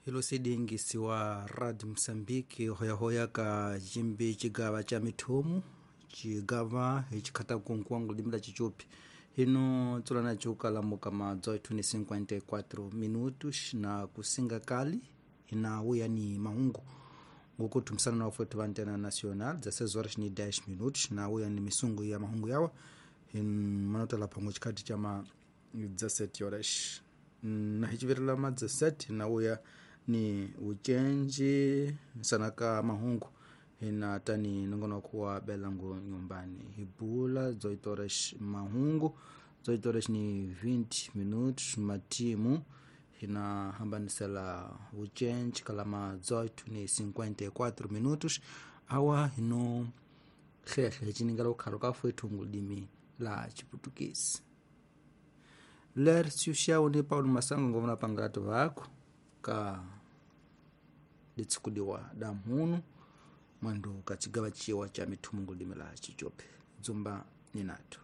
Hilo sidingisiwa Radio Msambiki hoyahoya ka jimbi chigava cha mithomu chigava hichikhata kunkuwangu limila chichupi hino tsulana ciukalamuka ma 18:54 minutos na kusinga kali inawuya ni mahungu ngukuthumisana na ufwetu va antena nacional 16 horas ni 10 minutos nawuya ni misungu ya mahungu yawa manotala phango chikhati cha ma 17 horas na hichivirela ma 17 nawuya ni ucenji sanaka mahungu hina tani nongonoko wa belango nyumbani hibula 18 horas mahungu 18 horas ni 20 minutos matimu hina hambanisela ucenji kalama 18 ni 54 minutos awa hino hlehle hiciningela ukhalo ka fwethu ngulimi la chiputukisi ler siuxawu ni paulo masango ngovona pangati vako ka litsikudiwa da mhunu mwandu ka chigava chiwa cha mithumu ngulimi la chichope dzumba ninatho.